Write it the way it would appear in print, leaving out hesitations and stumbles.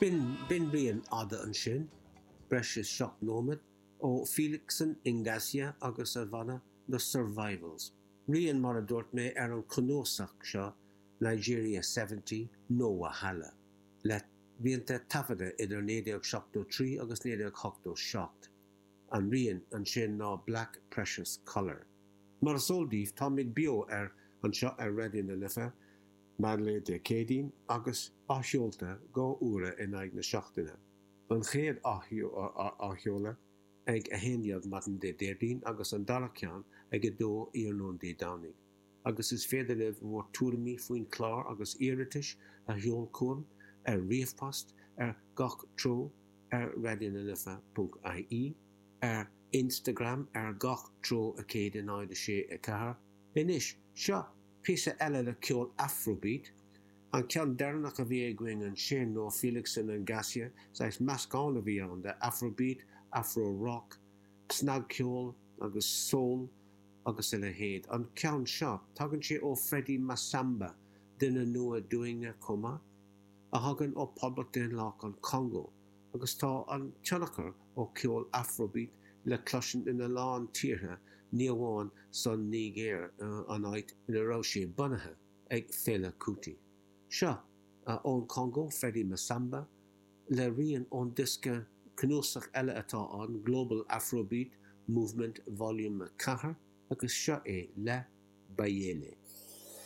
B'in, b'in rian fhada ansin, breis is 7 nóiméad, ó Felixson N'Gasia agus a bhanna The Survivals. Rian, mar a dúirt mé, ar an chnuasach seo Nigeria 70, No Wahala, le rianta taifeadta idir 1973 agus 1987. An rian ansin ná Black Precious Colour. Mar is eol daoibh, táimid beo ar anseo ar Raidió na Life, meánlae Dé Céadaoin, agus athsheolta 2 uaire in aghaidh na seachtaine. An chéad athsheoladh ag 11 maidin Dé Déardaoin agus an dara ceann ag 2 iarnóin Dé Domhnaigh. Agus is féidir libh bhur tuairimí faoin chlár agus iarratais a sheol chugam ar ríomhpost ar gach treo ar raidionalife.ie, ar Instagram ar gach treo 106 4. Anois, seo píosa eile le ceol Afrobeat. An ceann deireanach a bhí againn ansin ó Felixson N'Gasia, saghas meascán a bhí ann de Afrobeat, Afro-rock, snagcheol agus soul agus a leithéid. An ceann seo, tagann sé ó Freddy Massamba, duine nua dúinne chomh maith, a thagann ó Poblacht Daonlathach an Chongó agus tá an tionchar ó cheol Afrobeat le cloisint ina lán tíortha, ní amháin san Nigéir, an áit ina raibh sé bunaithe ag Fela Kuti. Seo, ón Chongó, Freddy Massamba, le rian ón diosca cnuasach eile atá ann, Global Afrobeat Movement Volume 4, agus seo é le Bayele.